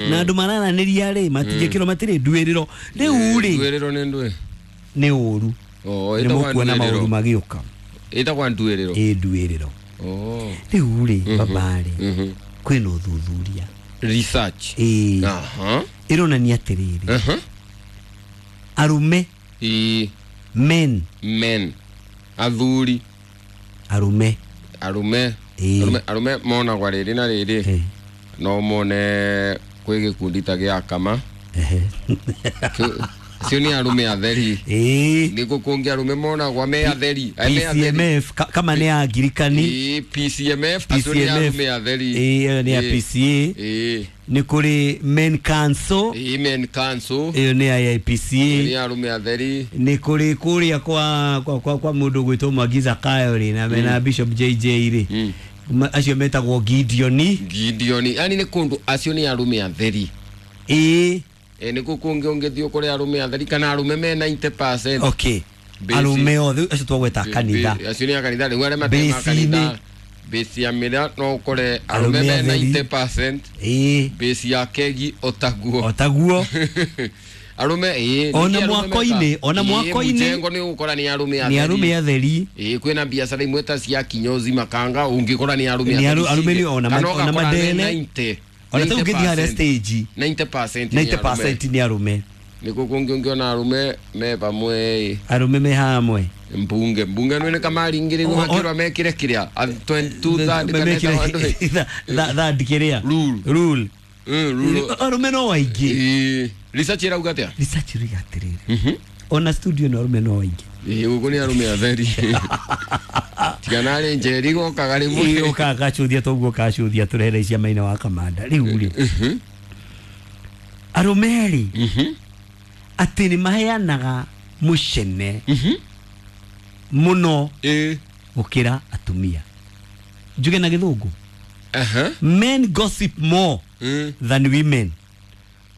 Na andũ marananĩria rĩ matingĩkĩrwo matirĩ nduĩrĩro rĩu rĩ Nduĩrĩro nĩ ndũĩ? Nĩ ũru. Oh, nĩ ĩtagwo mũkuona maũru nduĩrĩro. magĩũka. Ĩtagwo nduĩrĩro. Ĩ nduĩrĩro. Oh. Rĩu rĩ baba rĩ kwĩna ũthuthuria. Research. Ĩ. Aha. Ĩronania atĩrĩrĩ, Aha. arũme, Ĩ. men. Men. Athuri. Arũme. Arume. Ĩ. Arume monagwa rĩrĩ na rĩrĩ. Ĩ. No mone kwĩ gĩkundi ta gĩa kama. Ehe. Acio nĩ arume atheri. Ĩ. Nĩ kũngĩ arume monagwa me atheri. Ai, me atheri. PCMF kama nĩ angirikani. Ĩ, PCMF acio nĩ PCMF. arume atheri. Ĩ, ĩyo nĩ ya Ĩ. PCA. Ĩ. Nĩ kũrĩ men council. Ĩ, men council. Ĩyo nĩ ya IPCA. Nĩ arume atheri. Nĩ kũrĩ kũrĩa kwa mũndũ gwĩtwo Mwangi Zakayo rĩ na mena Bishop JJ rĩ. Acio metagwo Gideoni. Gideon, yani nĩ kũndũ acio nĩ arume atheri. Ĩ. Ĩ, nĩ kũ kũngĩ ũngĩthiĩ ũkore arume atheri kana arume me 90%. Okay. Basi. Arũme othe acio twagweta kanitha. Acio nĩ a kanitha rĩu arĩa matema Base-inĩ. kanitha. Base ya mĩra no ũkore arume Arũme me atheri. 90%. Ĩ. Base ya kegi otaguo. O taguo. Arume ĩ. Ona Ningĩ arume mwako-inĩ, ona Ĩ, mwako-inĩ. mũjengo nĩ ũgũkora nĩ arume Nĩ atheri. arũme atheri. Ĩ, kwĩna biacara imwe ta cia kinyozi makanga ũngĩkora nĩ arume Nĩ atheri arume cingĩ. nĩ ona Kana ona ũgakora me mandene. 90. Ona ta ũngĩthiĩ harĩa 90%. stage. 90% nĩ arume. 90% nĩ arũme. Nĩkũ kũngĩ ũngĩona arume me pamwe ĩ. Arũme me hamwe. Mbunge nĩ kamaringĩrĩrwo makĩrwo mekĩre kĩrĩa 2/3 kana Mekĩre- ĩtagwo ndũĩ. Third kĩrĩa. Rule. Rule. Rule. Arũme no aingĩ. Ĩ, research ĩrauga atĩa? Research ĩrauga atĩrĩrĩ, ona studio no arũme no aingĩ. Ĩ, gũkũ nĩ arume atheri. Tiga narĩ Njeri gokaga rĩmwe. Ĩ, ũkaga gacuthia toguo kacuthia tũrehere cia maina wa kamanda rĩu rĩ arũme rĩ atĩ nĩ maheanaga mũcene mũno Ĩ. gũkĩra atumia. Njuge na gĩthũngũ. Aha. Men gossip more than women.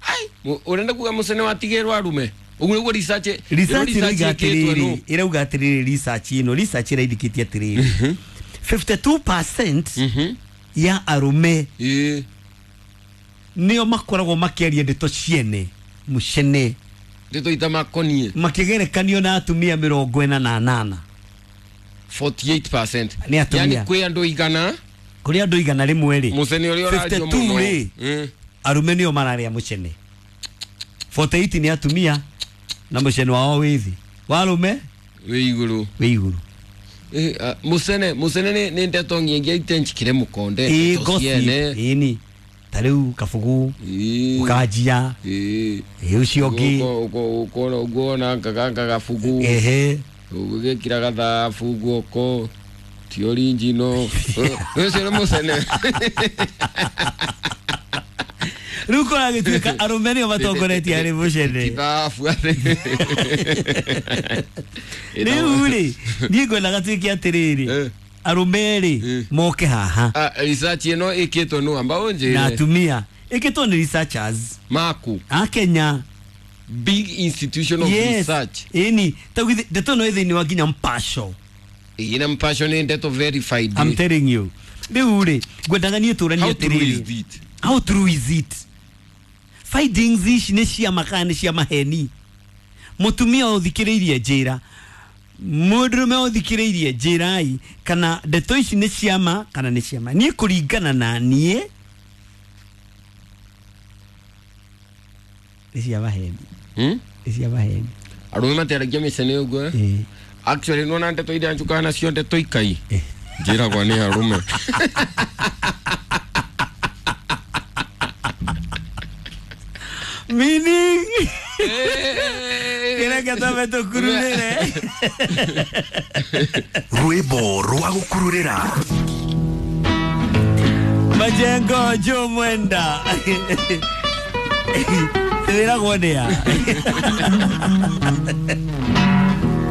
Ai, ũrenda kuga mũcene watigĩrwo arume? Ũguo nĩguo research Research ĩrauga ĩkĩtwo atĩrĩrĩ, nũ? ĩrauga atĩrĩrĩ, research ĩno, research ĩraindĩkĩtie atĩrĩrĩ, 52% ya arũme Ĩ. nĩo makoragwo makĩaria ndeto ciene mũcene. Ndeto itamakoniĩ. Makĩgerekanio na atumia 48. 48%. Nĩ atumia. Yani kwĩ andũ igana. Kũrĩ andũ 100 rĩ. Mũcene ũrĩa ũrario 52 mũno. rĩ. Arũme nĩo mararĩa mũcene. 48 nĩ atumia na mũcene wao wĩ thĩ. Wa arũme Wĩ igũrũ. wĩ igũrũ. Mũcene nĩ ndeto nyingĩ itenjikire mũkonde. Ĩ, Ndeto gossip. ciene. Ĩ ni. Ta rĩu kabugu Ĩ. ũkanjia. Ĩ. Ĩ ũcio ũngĩ. Ũkuona gabugu. Ehe. Ũgĩkĩra gathabu guoko. Ti original. Ũcio nĩ mũcene. Rĩu kũragĩtuĩka arũme nĩo matongoretie harĩ mũcene. Ti thabu atĩ. Rĩu rĩ niĩ ngwendaga tuĩke atĩrĩrĩ, arũme rĩ moke haha. Research ĩno ĩkĩtwo nũ amba Na ũnjĩre. atumia ĩkĩtwo nĩ researchers Maku. a Kenya. Big institution of Yes. research. Ĩni ta githĩ ndeto ĩno ĩ thĩinĩ wa nginya mpasho. Ĩna mpasho nĩ ndeto verified. I'm telling you. Rĩu rĩ ngwendaga niĩ tũranie How true is atĩrĩrĩ, it? how true is it? Findings ici nĩ cia ma kana nĩ cia maheni? Mũtumia ũthikĩrĩirie njĩra, mũndũrũme ũthikĩrĩirie njĩrai kana ndeto ici nĩ cia ma kana nĩ cia ma. Niĩ kũringana na niĩ nĩ cia maheni. Nĩ cia maheni. Arũme matiaragia mĩcene ũguo, eh? Ĩ. Actually nĩwona ndeto iria njukaga nacio ndeto ikai. Eh. Njĩragwo nĩ arũme. Meaning kĩreke twambe tũkururĩre. Rwĩmbo rwa gũkururĩra. Majengo Joe Mwenda wĩragwo nĩa.